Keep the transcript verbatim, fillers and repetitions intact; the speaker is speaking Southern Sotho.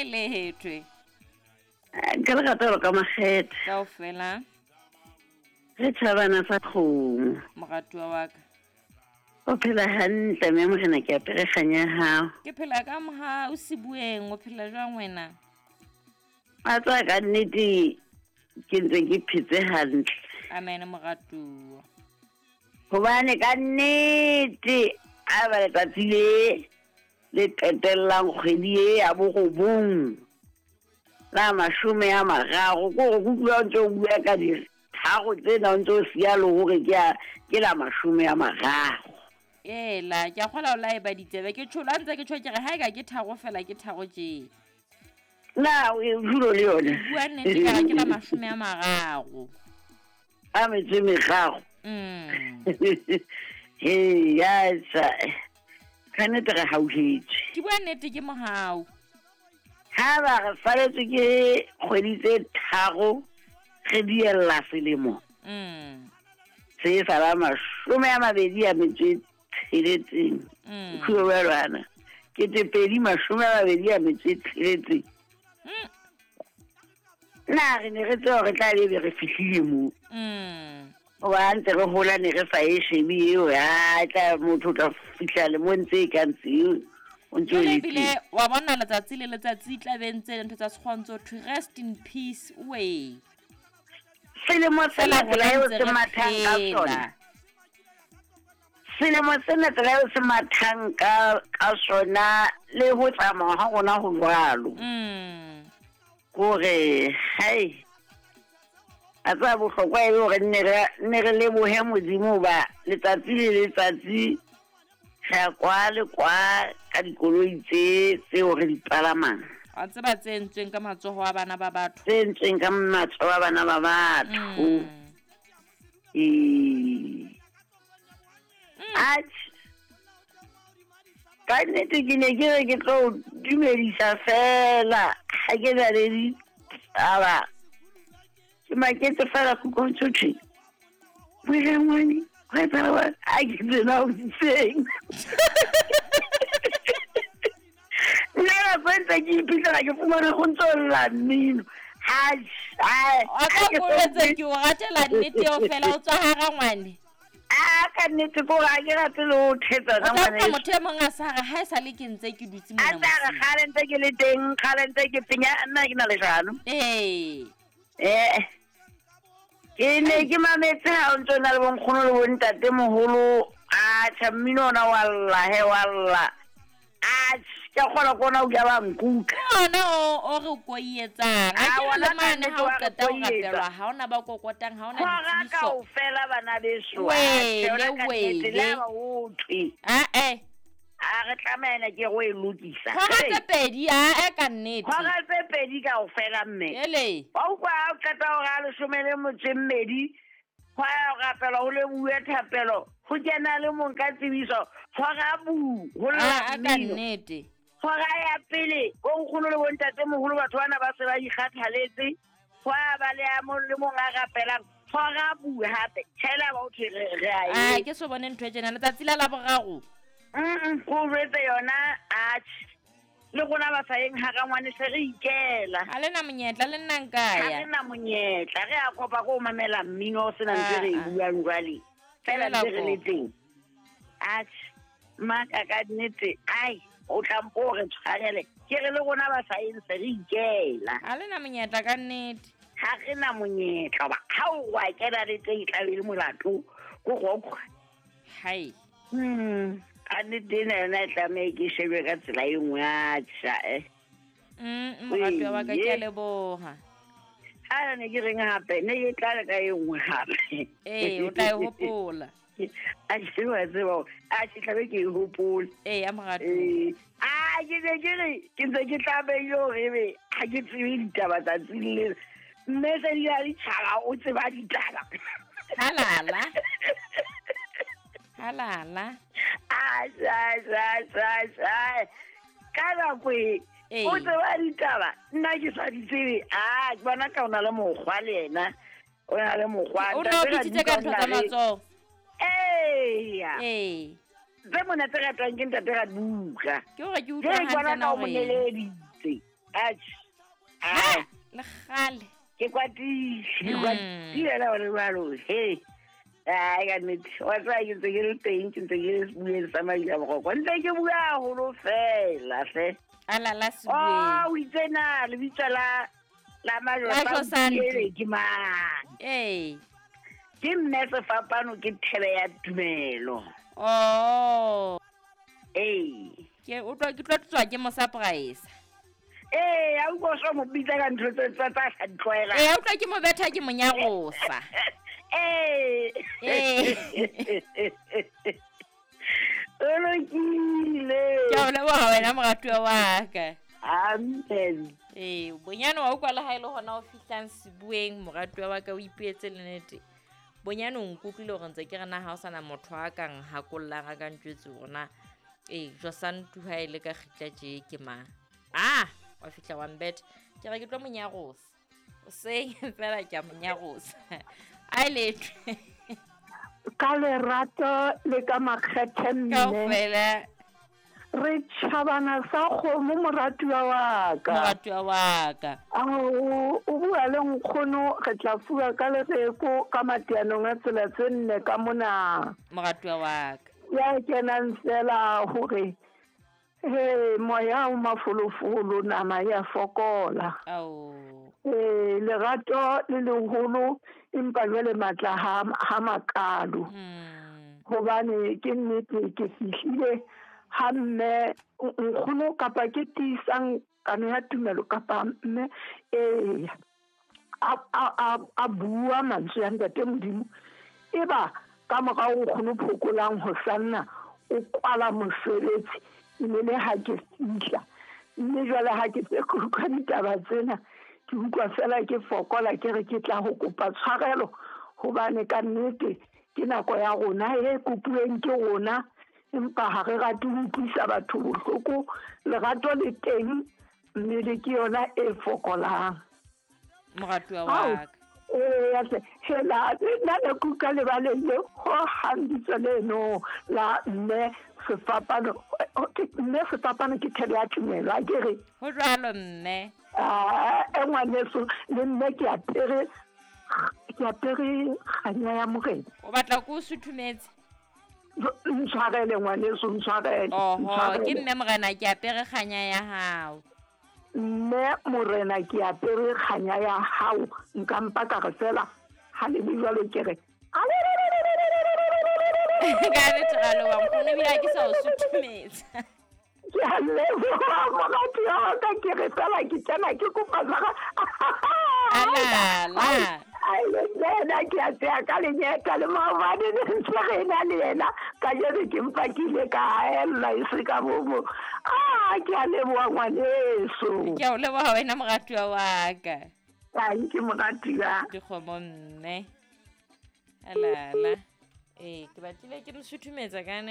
Ha e lethwe. Ka le rata ka makgethe. Kaofela. Re thabana sa kgomo. Moratuwa wa ka. O phela hantle mme morena ke apere kganya hao. Ke phela ka moha o sibueng, o phela jwang wena? A tswa ka nnete ke ntse ke phetse hantle. Amen moratuwa. Hobane ka nnete a ba letsatsi le le qetellang kgwedi e ya borobong la mashome a mararo, ko go utlwa ntse o bua ka ditharo tsena o ntse o siya le hore ke a ke la mashome a mararo. Ela ke a kgola o la e ba ditsebe ke tsholo a ntse ke tjho ke re ha e ka ke tharo fela ke tharo tje. Na o julo le yona. Bua nnete ka ke la mashome a mararo. A metso e meraro. Mm. He ya sa ka nnete re hauhetswe. Ke bua nnete ke mohau. Ha ba re saletswe ke kgwedi tse tharo re diella selemo. Mm. Se sa la mashome a mabedi a metso e tsheletseng. Mm. Khuelwana. Ke tse pedi mashome a mabedi a metso e tsheletseng. Mm. Na re ne re tseba re tla be re fihlile moo. Mm. Hoba ntse re hola ne re sa e shebe eo, ha tla motho o tla fihla le mo ntse e ka ntse o ntse o Jwale le ebile teng. wa bona letsatsi le letsatsi tla be ntse ntho tsa sekgwa ntso thwe rest in peace we. Selemo sena Fela tsela rona eo ntse se re mathang ka phela. sona. Selemo sena tsela eo se mathang ka ka sona le ho tsamaya ha rona ho jwalo. Mm. Kore hai a tseba bohlokwa e le hore nne re nne re lebohe Modimo hoba letsatsi le letsatsi re ya kwa le kwa ka dikoloi tse tseo re di palamang. Wa tseba tse entsweng ka matsoho a bana ba batho. Tse entsweng ka matsoho a bana ba batho. Mm. Ee. Mm. Atjhe. Ka nnete ke ne ke re ke tlo dumedisa fela ha ke na le ditaba. Ke maketse fela ko ntho thwe. Wena ngwane, ho etsahala eng? Ha ke tsena ho itseng. Nna nako e ntse ke iphitlhela ke fumana go ntso lla mmino. Ha, ha, Wa tla ha ke boletse so ke o ratela nnete eo fela o tswa hara ngwane. Ah, ka nnete ko ha ke rate le ho thetsa O ka tla utlwa ngwaneso. motho e mong a sa re ha e sale ke ntse ke dutse A mona tla re mosing. kgale ntse ke le teng, kgale ntse ke penya, nna ke na leshano. Ee. Eh. Ke ne ke mametse ha o ntso na le bonkgono le bontatemoholo, atjha mmino ona wa lla he wa lla. Atjhe, ke a kgolwa ke ona o ka ba nkuka. Ke ona o, o re koietsang. Ha Ah, ke re ona le ka mane nnete ha o wa re qeta ho koietsa. rapelwa, ha hona ba kokotang, ha hona Hora ditsebiso. kaofela bana beso, Wele, atjhe, ona ka nnete, le wele. ha ba ho thwe. Ah, eh. A re tlameha ena ke re o e lokisa. Hora Hey. tse pedi, ah, eh, ka nnete. Hora tse pedi kaofela mme. Ele. Wa utlwa ha o qeta hora ya leshome le motso e mmedi, hwa ya ho rapelwa, ho lebohuwe thapelo, ho kena le mong ka tsebiso, hora bu, ho lla Ah, ah, ka mmino. nnete. Hora ya pele, bonkgono le bontatemoholo batho bana ba se ba ikgathaletse, hwa ba le a mong le mong a rapelang, hora bu hape, tjhela ba ho thwe re, re a Ah, e. ke so bone ntho e tjena letsatsi la Laboraro. Mm, ko jwetse yona, atjhe. Le rona ba sa yeng hara ngwane se re ikela. Ha le na monyetla le nna nka Ha ya. re na monyetla, re a kopa ko mamela mmino o sena ntho e re e Ah, ah. buang jwale. Fela Fela ntse re le ko. teng. Atjhe, mmaka ka nnete, ai, o tla mpo o re tshwarele. Ke re le rona ba sa yeng se re ikela. Ha le na monyetla ka nnete. Ha re na monyetla hoba ha o wa kena le teng e tla be le molato, ko go utlwa. Hai. Hmm, ka nnete ena yona e tlameha ke shebe ka tsela e nngwe, atjha, eh. Mm, moratuwa wa ka, ke a Ee. leboha. Ha ne ke reng hape, ne ke tla le ka e nngwe hape. Ee, o tla e hopola. A ke wa tseba hore, atjhe, tlabe ke e hopole. Ee, a moratuwa. Ee. Ah, ke ne ke re, ke ntse ke tlamehile hore ebe ha ke tsebe ditaba tsatsing lena. Mme se di a ditjhaba, o tseba ditaba. Halala. Halala. Atjhe, atjhe, atjhe, atjhe. Ka nako e, Ee. o tseba ditaba, nna ke sa di tsebe. Ah, ke bona ka o na le mokgwa le yena. O na le mokgwa. O ne o Ntate bitsitse ka Raduka ntho o tsa na le- matsoho. Eya. Ee. Tse monate ratwang ke ntate Raduka. Ke hore ke utlwa Jwale ke bona hantle ka na o hore moneleditse. Atjhe. Ha, le kgale. Ke kwatile, ke kwatile la hore jwalo. He. Ai ka nnete. Wa tseba ke ntse ke le teng, ke ntse ke le sebueng sa Maila Boroko. Ntse ke bua haholo fela hle. Ala la sebueng. Oh, o itse na lebitso la la La Josantu. ke mang? Ee. Ke mme sefapano ke thebe ya tumelo. Oh. Ee. Ke utlwa ke tlo tswa ke mo surprise. Ee, a utlwa o so mo bitsa ka ntho tse tsa tsa sa di tlwaelang. Ee, a utlwa ke mo betha ke mo nyarosa. Ee. Ee. O lokile. Ke a o leboha wena moratuwa wa ka. Amen. Ee, bonyane wa utlwa le ha e le hona o fihlang sebueng moratuwa wa ka o ipuetse le nnete. Bonyane o nkutlwile hore ntse ke re na ha o sana motho a ka nhakollang a ka ntjwetse hore na ee Josantu ha e le ka kgitla tje ke mang. Ah, wa fihla wa mbetha. Ke re ke tlo mo nyarosa. Hoseng fela ke a mo nyarosa. A e lethwe. Ka lerato le ka makgethe mme. Kaofela. Re tjhabana sa kgomo moratuwa wa ka. Moratuwa wa ka. Ao, o bua le nkgono re tla fuwa ka lereko ka mateanong a tsela tse nne ka mona. Moratuwa wa ka. Ya kenang fela hore he moya o mafolofolo nama ya fokola. Ao. Eh lerato le leholo empa jwale matla ha ha makalo. Mm. Hobane ke nnete ke fihlile ha mme nkgono kapa ke tiisang kano ya tumelo kapa mme eh a a a bua mantswe ya Ntate Modimo eba ka morao nkgono phokolang ho sanna o kwala mosebetsi mme le ha ke fihla mme jwale ha ke tse utlwa ditaba tsena ke utlwa fela ke fokola ke re ke tla ho kopa tshwarelo hobane ka nnete ke nako ya rona e kopuweng ke rona empa ha re rate ho utlwisa batho bohloko. Lerato le teng mme le ke yona e fokolang. Moratuwa wa ka. Ee, ya hle, hela, nna ne ke utlwa lebaleng le hohang bitso leno la mme sefapano, mme sefapano ke thebe ya tumelo, a ke re? Ho jwalo mme. Ah, e ngwaneso, le mme ke apere, ke apere kganya ya Morena. O batla ko o suthumetse? Ntshwarele ngwaneso, ntshwarele. Oho, ke mme Morena ke apere kganya ya hao. Mme Morena ke apere kganya ya hao. Nka mpa ka re fela ha le le jwalo ke re. Ka nnete ra leboha nkgono ebile ha ke sa o suthumetsa. Ke a leboha moratuwa wa ka ke re fela ke kena ke kopa tshwarelo. Alala. Ai le yena ke a tseya ka lenyeta le maobane ne ntse re na le yena kajeno ke mpa ke ile ka haella e se ka bomo. Ah, ke a leboha ngwaneso. Ke a o leboha wena moratuwa wa ka. Thank you moratuwa. Dikgomo mme. Alala. Ee, ke batlile ke mo suthumetsa ka